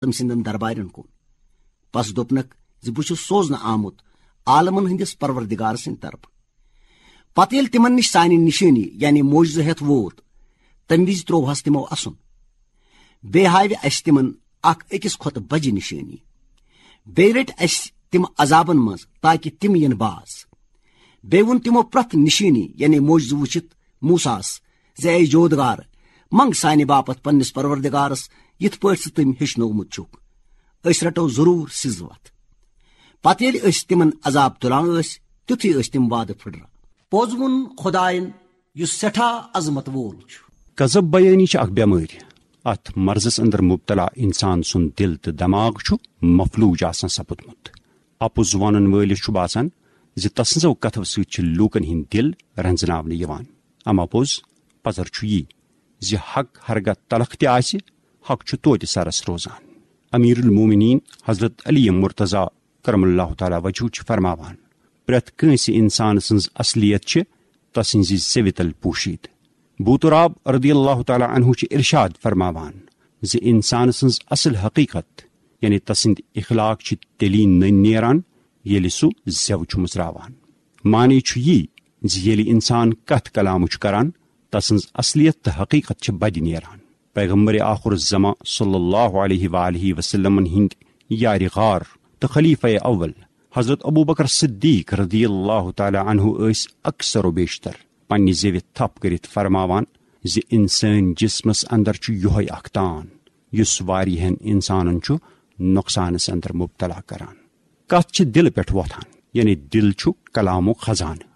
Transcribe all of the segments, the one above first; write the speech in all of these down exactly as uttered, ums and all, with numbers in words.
تٔمۍ سٕنٛدٮ۪ن دربارٮ۪ن کُن۔ پس دوٚپنکھ زِ بہٕ چھُس سوزنہٕ آمُت عالمن ہٕنٛدِس پروردگار سٕنٛدِ طرفہٕ۔ پتہٕ ییٚلہِ تِمن نِش سانہِ نِشٲنی یعنی معجزٕ ہٮ۪تھ ووت، تمہِ وِزِ ترووہس تِمو اسُن۔ بیٚیہِ ہاوِ اسہِ تِمن اکھ أکِس کھۄتہٕ بجہِ نِشٲنی۔ بیٚیہِ رٔٹۍ اسہِ تِم عذابن منٛز تاکہِ تِم یِن باز۔ بیٚیہِ ووٚن تِمو پرٛٮ۪تھ نِشٲنی یعنی معجزٕ وٕچھِتھ موسیٰ ہس زِ اے جودگار، منگ سانہِ باپتھ پننِس پروردگارس یِتھ پٲٹھۍ ژٕ تٔمۍ ہیٚچھنومُت چھُکھ۔ أسۍ رٹو ضروٗر سٕژ وتھ۔ پتہٕ ییٚلہِ أسۍ تِمن عذاب تُلان ٲسۍ، تیُتھُے ٲسۍ تِم وعدٕ پھٕٹران۔ پوٚز ووٚن خۄداین، یُس سٮ۪ٹھاہ عظمت وول چھُ۔ غضب بیٲنی چھِ اکھ بٮ۪مٲرۍ۔ اتھ مرضس اندر مبتلا انسان سُنٛد دل تہٕ دماغ چھُ مفلوج آسان سپُدمُت۔ اپُز ونن وٲلِس چھُ باسان زِ تسٕنزو کتھو سۭتۍ چھِ لوٗکن ہٕنٛدۍ دل رنزناونہٕ یِوان۔ اما پوٚز پزر چھُ یی زِ حق ہرگاہ تلخ تہِ آسہِ، حق چھُ توتہِ سرس روزان۔ امیر المومنین حضرت علی مرتضی کرم اللہ تعالیٰ وجہہ چھِ فرماوان، پرٛٮ۪تھ کٲنٛسہِ انسان سٕنٛز اصلیت چھِ تسٕنزِ زیوِ تل پوشیٖد۔ بوتراب رضی اللہ تعالیٰ عنہ چھِ ارشاد فرماوان زِ انسان سٕنٛز اصل حقیقت یعنی تسٕنٛدۍ اخلاق چھِ تیٚلی نٔنۍ نیران ییٚلہِ سُہ زٮ۪و چھُ مُژراوان۔ معنی چھُ یی زِ ییٚلہِ انسان کتھ کلامہٕ چھُ کران، تسٕنٛز اصلیت تہٕ حقیقت چھِ بدِ نیران۔ پیغمبر آخر الزمان صلی اللہ علیہ وآلہ وسلمن ہٕنٛدۍ یارِ غار تہٕ خلیفہ اول حضرت ابو بکر صدیق رضی اللہ تعالیٰ عنہ ٲسۍ اکثر و بیشتر پننہِ زیوِ تھپھ کٔرِتھ فرماوان زِ انسٲنۍ جسمس اندر چھُ یۄہے اکھ تان یُس واریاہن انسانن چھُ نۄقصانس اندر مبتلا کران۔ کتھ چھِ دلہٕ پٮ۪ٹھ وۄتھان، یعنی دل چھُ کلامُک خزانہٕ۔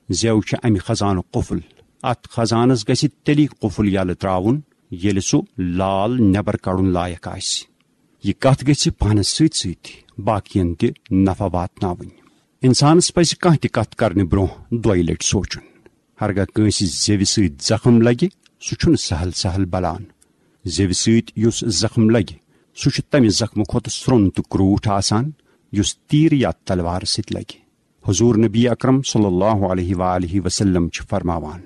زٮ۪و چھِ امہِ خزانُک قفل۔ اتھ خزانس گژھِ تیٚلی قفل یلہٕ تراوُن ییٚلہِ سُہ لال نٮ۪بر کڑُن لایق آسہِ۔ یہِ کتھ گژھِ پانس سۭتۍ سۭتۍ باقین تہِ نفع واتناوٕنۍ۔ انسانس پزِ کانٛہہ تہِ کتھ کرنہٕ برونٛہہ دۄیہِ لٹہِ سونچُن۔ ہرگاہ کٲنٛسہِ زیوِ سۭتۍ زخم لگہِ، سُہ چھُنہٕ سہل سہل بلان۔ زیوِ سۭتۍ یُس زخم لگہِ، سُہ چھُ تمہِ زخمہٕ کھۄتہٕ سرٛوٚن تہٕ کرٛوٗٹھ آسان، یُس تیٖر یا تلوارٕ سۭتۍ لگہِ۔ حضور نبی اکرم صلی اللہ علیہ وآلہ وسلم چھِ فرماوان،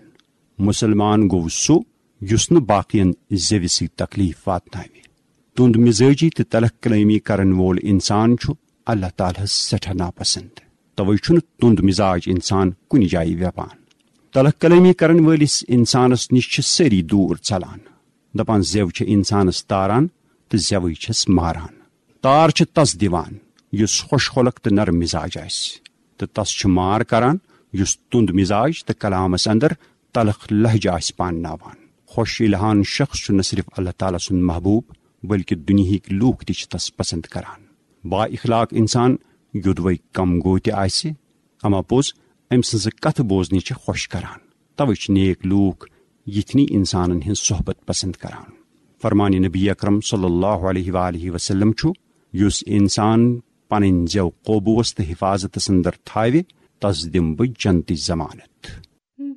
مسلمان گوٚو سُہ یُس نہٕ باقین زیوِ سۭتۍ تکلیف واتناوِ۔ تُند مزاجی تہٕ تلخ کلٲمی کرن وول انسان چھُ اللہ تعالیٰ ہس سٮ۪ٹھاہ ناپسند۔ توے چھُنہٕ تُند مزاج انسان کُنہِ جایہِ ویپان۔ تلخ کلٲمی کرن وٲلِس انسانس نِش چھِ سٲری دوٗر ژلان۔ دپان زٮ۪و چھِ انسانس تاران تہٕ زٮ۪وٕے چھِس ماران۔ تار چھِ تس دِوان یُس خۄش خۄلق تہٕ نرم مزاج آسہِ، تہٕ تس چھِ مار کران یُس تُند مزاج تہٕ کلامس اندر تلخ لہجہ آسہِ پانناوان۔ خۄش الہان شخص چھُ نہ صرف اللہ تعالیٰ سُنٛد محبوب، بلکہ دُنیہٕکۍ لوٗکھ تہِ چھِ تس پسند کران۔ با اخلاق انسان یوٚدوے کم گوٚو تہِ آسہِ، اما پوٚز أمۍ سٕنٛزٕ کتھٕ بوزنہِ چھِ خۄش کران۔ توے چھِ نیک لوٗکھ یِتھنی انسانن ہٕنٛز صحبت پسند کران۔ فرمان نبی اکرم صلی اللہ علیہ وآلہ وسلم چھُ، یُس انسان پنٕنۍ زٮ۪و قوبوس تہٕ حفاظتس اندر تھاوِ، تس دِمہٕ بہٕ جنتٕچ ضمانت۔